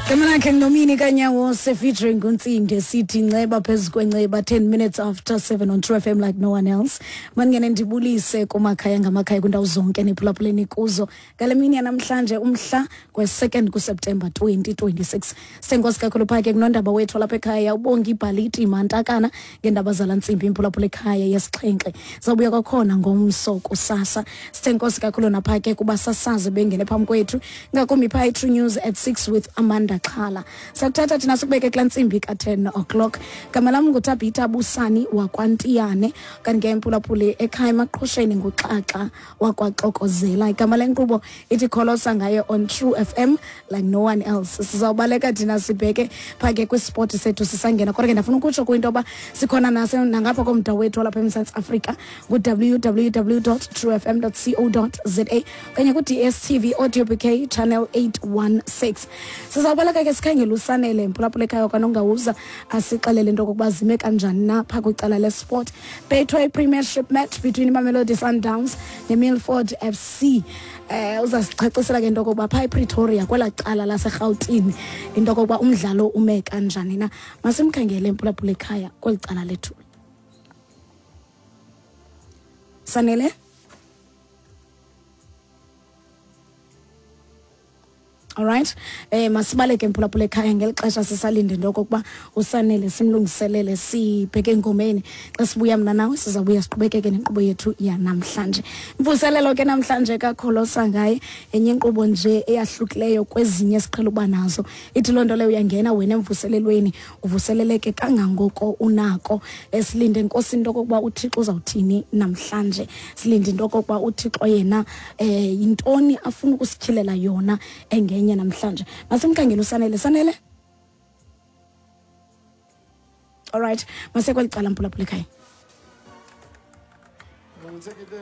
Igama lakhe nguNomini kaNyawose featuring uNtsinde, sithi nceba phezu kwenceba, 10 minutes after 7 on True FM like no one else. Mandingene ndibulise kumakhaya ngamakhaya kwindawo zonke niphulaphuleni kuzo ngale mini yanamhlanje, umhla kwe-2nd kuSeptemba 2026. Senkosi kakhulu phaa ke kunondaba wethu walapha ekhaya uBongi Ibhaliti Mantakana ngeendaba zala ntsimbi, imphulaphula ekhaya yesixhenxe. Zawubuya kwakhona ngomso kusasa. Sithenkosi kakhulu naphaa ke kubasasazi bengene phambi kwethu, ngakumbi phaa i-True News at 6 with Amanda Xhala. Sakuthatha thina sikubeke kulaa ntsimbi ka-10 o'clock. Gama lam nguTabhita Busani wakwaNtiyane, kanti ke emphulaphuli ekhaya emaqhosheni nguXaxa wakwaXokozela. Igama lenkqubo ithi Kholosa Ngaye on True FM like no one else. Sizawubaleka thina sibheke phaa ke kwispoti sethu sisangena, kodwa ke ndafuna ukutsho kwinto yoba sikhona nase nangapha komda wethu walapha eMzantsi Afrika ngu-www truefm co za okanye ku-DStv audio bk channel 816. Sizawubaleka ke sikhangele uSanele mphulaphula ekhaya kwanongawuza asixelele into okokuba zime kanjani na phaa kwicala lesport. Betway Premiership match between iMamelodi Sundowns neMilford FC. Uzasichacisela ke into okokuba phaa ePretoria kwelaa cala laseRhawutini into okokuba umdlalo ume kanjani na. Masimkhangele mphulaphula ekhaya kweli cala lethu. Sanele, alright, masibaleke mphulaphula ekhaya ngeli xesha sisalinde into okokuba uSanele simlungiselele, sibheke engomeni. Xa sibuya mna nawe sizawubuya siqhubekeke nenkqubo yethu yanamhlanje. Imvuselelo ke namhlanje kaKholosa Ngaye, enye inkqubo nje eyahlukileyo kwezinye esiqhela uba nazo. Ithi loo nto leyo uyangena wena emvuselelweni, uvuseleleke kangangoko unako. Esilinde Nkosi into okokuba uThixo uzawuthini namhlanje, silinde into okokuba uThixo yena yintoni afuna ukusityhilela yona engenye namhlanje. Masimkhangele uSanele. Sanele, alright, masekweli cala mphulaphula ekhaya. Take it there.